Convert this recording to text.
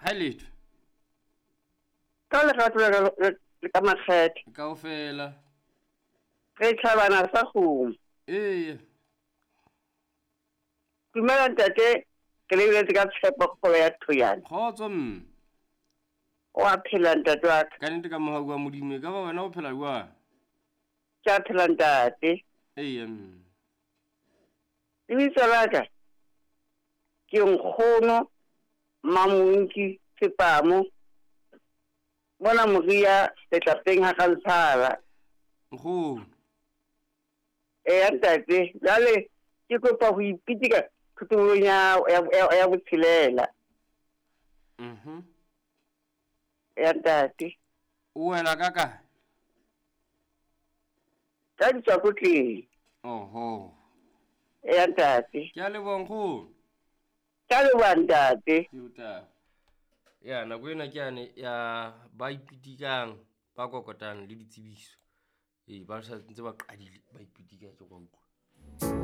Ha letho. Ka lerato la ka le ka makgethe. Kaofela. Re tlhabana sa kgomo. Eya. Dumela ntate, ke lebeletse ka tshepo kgolo ya Thoyane. Kgotso mme. O a phela ntate wa ka. Ka nnete ka mohau wa Modimo, e ka ba wena o phela jwang? Ke a phela ntate. Eya mme. Lebitso la ka ke nkgono Mmamonki Sepamo mona Moria letlapeng ha Rantshala. Nkgono. Eya ntate, jwale ke kopa ho ipitika thotolong ya ya ya botshelela. Eya ntate. O wela ka kae? Ka ditswakotleng. Oho. Eya ntate. Ke a leboha nkgono. Ke a leboha ntate. Ke o taba. Ya nako ena ke yane ya ba ipitikang ba kokotang le ditsebiso. Ee, ba sa ntse ba qadile ba ipitika ke go utlwa.